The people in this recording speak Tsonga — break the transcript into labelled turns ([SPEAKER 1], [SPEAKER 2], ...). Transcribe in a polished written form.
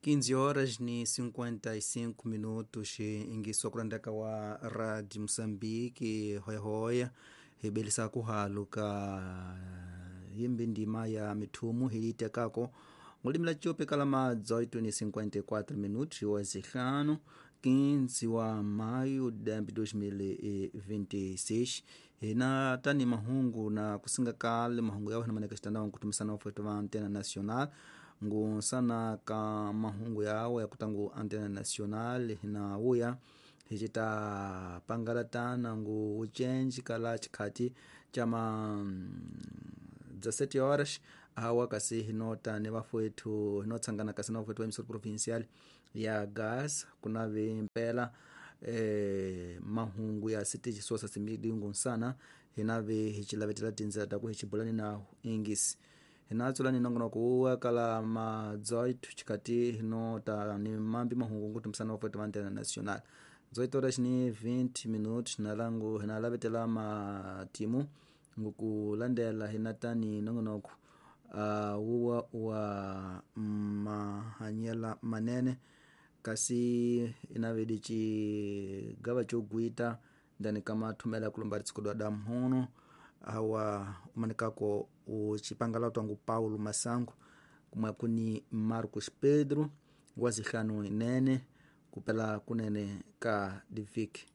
[SPEAKER 1] 15 horas ni 55 minutos ingiswa kulandaka wa Radio Mosambiki hoyahoya hibelisa kuhalu ka yimbi ndima ya mithumu hilitekako ngulimi la tiope kala ma 18 ni 54 minutos wa zihlanu 15 wa maio de 2026 hina tani mahungu na kusinga kale mahungu yao hinamaneka xitandao nkutumisana wafwetu va antena nacional ngunsana ka mahungu yawo yakutangu antena nacional hina wuya hicita pangala tana ngu ucenji kala chikhati chama 17 horas awa kasi hinota ni vafowethu hinotsangana kasi na vafowethu va emisoro provincial ya gas kunave mpela mahungu ya sitichi sosa simidi ngunsana hinave hichilavetela tindzela taku hichibulani na ingisi hinatsulani nongonoko wuwa kala ma 18 chikati hinota ni mambi mahungu ngutumisana vafowethu va antena nacional 18 horas ni 20 minutos nalangu hinalavetela matimu ngukulandela hinatani nongonoko wuwa wa mahanyela manene kasi inavedi cigava cogwita ndani kamathumela kulomba ritsikudwa da mhuno awa umanikako ucipangala twangu Paulo Masango kumwe kuni Marcos Pedro wa zihlanu inene kupela kunene ka diviki.